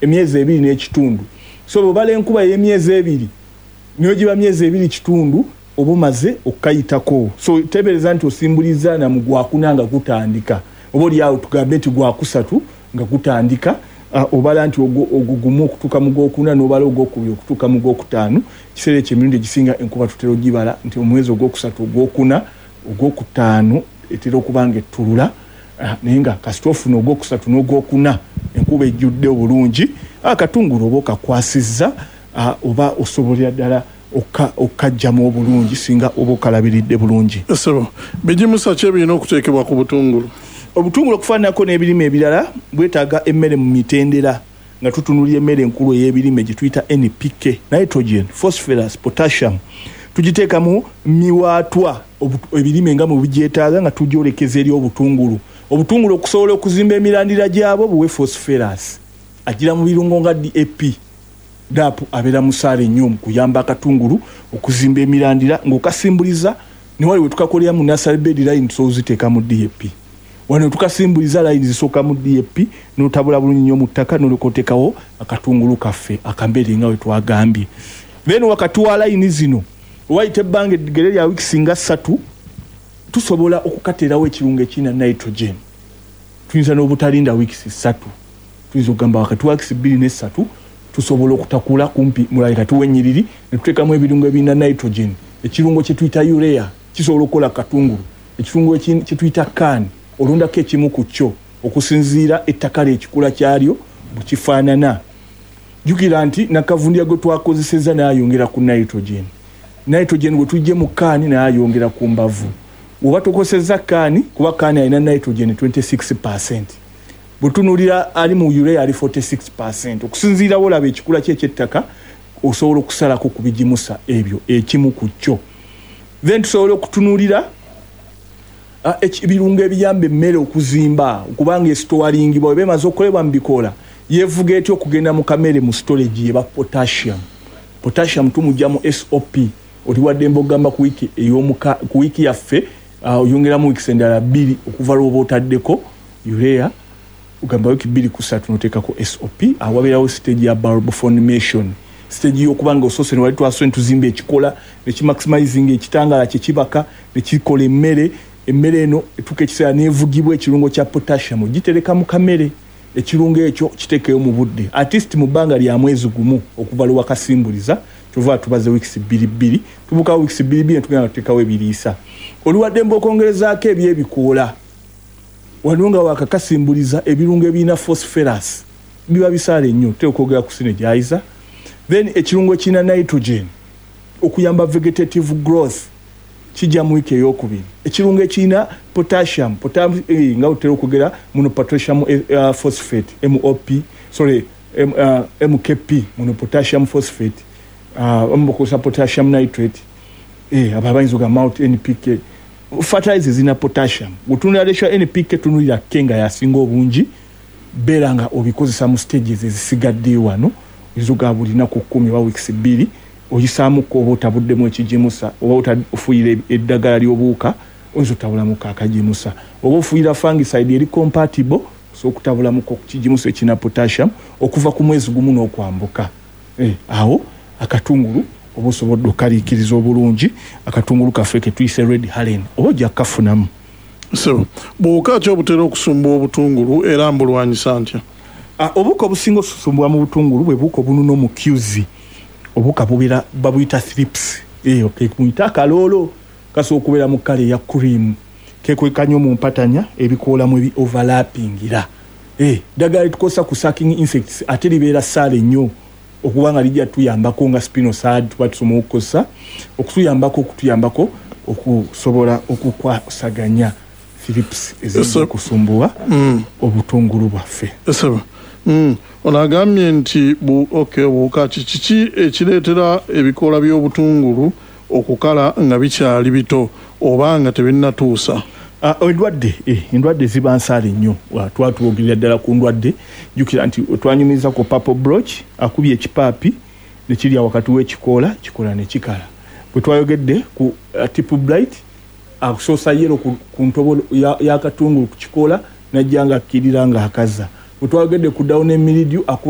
Emyezi 2 n'ekitundu. So bwobala enkuba ey'emyezi 2, niyo giba myezi 2 kitundu, oba omaze okukayitako. So tebereza nti osimbuliza na mu gwakuna nga gutandika, oba oliawo tugambe nti gwakusatu nga gutandika. Obala nti ogwo gumu okutuuka mu gwokuna, n'obala ogwokubiri okutuuka mu gwokutaano. Ekiseera ekyo emirundi egisinga enkuba tutera ogibala nti omwezi ogwokusatu, ogwokuna, ogwokutaano etera okuba nga ettulula. Naye nga kasita ofuna ogwokusatu n'ogwokuna enkuba ejjudde obulungi, akatungulu oba okakwasizza, oba osobolera ddala okukajjamu obulungi singa oba okalabiridde bulungi. Sebo, bigimusa ki ebirina okuteekebwa ku butungulu? Obutungulu, okufaananako n'ebirime ebirala, bwetaaga emmere mu mitendera, nga tutunulira emmere enkulu ey'ebirime gye tuyita NPK, nitrogen, phosphorus, potassium. Tugiteeka mu miwaatwa ebirime nga mu bigyetaaga, nga tugyolekeza eri obutungulu. Obutungulu okusobola okuzimba emirandira gyabwo, buwe phosphorus agira mu birungo nga DAP. DAP abeera musaale nnyo mu kuyamba akatungulu okuzimba emirandira. Ng'okasimbuliza, newali we tukakolera mu nursery bed, line tusobola oziteeka mu DAP. Wano tukasimbuliza, line zisooka mu DAP, n'otabula bulungi nnyo mu ttaka, n'olyoka oteekawo akatungulu kaffe akambeere nga we twagambye. Then wakati wa layini zino wayita ebbanga eggere lya wiikisi nga 3, tusobola okukateerawo ekirungo ekirina nitrogen. Tuyinza n'obutalinda wiikisi 3, tuyinza okugamba wakati wa wiikisi 2 ne 3 tusobola okutakula kumpi mulali kati w'ennyiriri ne tuteekamu ebirungo ebirina nitrogen. Ekirungo kye tuyita urea kisobola okukola katungulu. Ekirungo kye tuyita CAN, olondako ekimu ku kyo okusinziira ettaka lyekikula kyalyo bwe kifaanana. Jjukira nti nakavundira gwe twakozeseza naye ayongera ku nitrogen. Nitrogen bwe tujje mu CAN, naye ayongera ku mbavu. Oba tokoseza CAN, kuba CAN alina nitrogen 26, bwetunuulira ali mu urea ali 46. Okusinziira wolaba ekikula kye ekyettaka, osobola okusalako ku bigimusa ebyo ekimu ku kyo. Then tusobola okutunuulira ebirungo ebiyamba emmere okuzimba, okubanga esitowaringibwa weba emaze okukolebwa mu bikoola, yevuga etya okugenda mu kamere mu storage, yeba potassium. Potassium tumugya mu SOP. Oli waddembe okugamba ku wiiki ku wiiki yaffe, oyongeramu wiikisi endala 2 okuva lwoba otaddeko urea. Ogamba wiiki 2 ku 3 noteekako SOP. Awabeerawo stage ya bulb formation, stage y'okuba nga osoose newali twasose netuzimba ekikola nekimaximizing ekitangala kyekibaka nekikola emmere. Emmere eno etuuka ekiseera nevugibwa ekirungo kya potassium. Gitereka mu kamere, ekirungo ekyo kiteekeyo mu budde, at least mu bbanga lya mwezi gumu okuva lwe wakasimbuliza. Kyova tubaze wiikisi bbiri bbiri, tubuukawo wiikisi bbiri bbiri netugenda tuteekawo ebiriisa. Oli waddembe okwongerezaako ebyebikoola wano nga wakakasimbuliza. Ebirungo ebirina phosphorus biba bisaale nnyo, tutera okwogera ku synergizer. Then ekirungo ekirina nitrogen okuyamba vegetative growth kijja mu wiiki eyokubiri. Ekirungo ekirina potassium, nga bwetutera okwogera muno potassium phosphate, MOP, sorry, MKP, muno potassium phosphate, bakozesa potassium nitrate, abo abayinza ogamba mount NPK fertilizer zirina potassium. Bwetunulira ratio ya NPK, tunulira K nga yasinga obungi. Beera nga obikozesa mu stages ezisigadde wano. Oyinza ogaba buli naku 10 oba wiikisi 2 oyisaamuko, oba otabuddemu ekigimusa, oba ofuuyira eddagala ly'obuwuka, oyinza otabulamuko akagimusa, oba ofuuyira fungicide eri compatible, osobola okutabulamuko kigimusa ekirina potassium okuva ku mwezi gumu n'okwambuka. Awo akatungulu oba osobodde okukaliikiriza obulungi. Akatungulu kaffe ketuyise Red Helen oba ojja kukafunamu. Sebo, buwuka ki obutera okusumbuwa obutungulu, era mbulwanyisa ntya? Obuwuka obusinga osusumbwa mu butungulu bwe buwuka obununa omukyuzi. Obuwuka bubeera babuyita thrips. Muyite akaloolo, kasobola okubeera mu kkala eya cream, kekweka nnyo mu mpatanya ebikoola mu ebi overlappingira. Eddagala lyetukozesa ku sucking insects ate libeera ssaale nnyo okuba nga lijja tuyambako nga spinosad, tuba tusoma okukozesa okutuyambako okusobola okukwasaganya thrips eziyinza okusumbuwa obutungulu bwaffe. Sebo, ono agambye nti okay, obuwuka ki kiki ekireetera ebikoola by'obutungulu okukala nga bikyali bito oba nga tebinnatuusa? Endwadde ziba nsaale nnyo. Twatwogerera ddala ku ndwadde. Jjukira nti twanyumiza ku purple blotch, akubye ekipaapi nekirya wakati w'ekikoola, kikola nekikala. Bwe twayogedde ku tip blight, akusoosa yellow ku ntobo y'akatungulu ku kikoola, najja nga akkirira ng'akaza. Bwe twayogedde ku downy mildew, akuba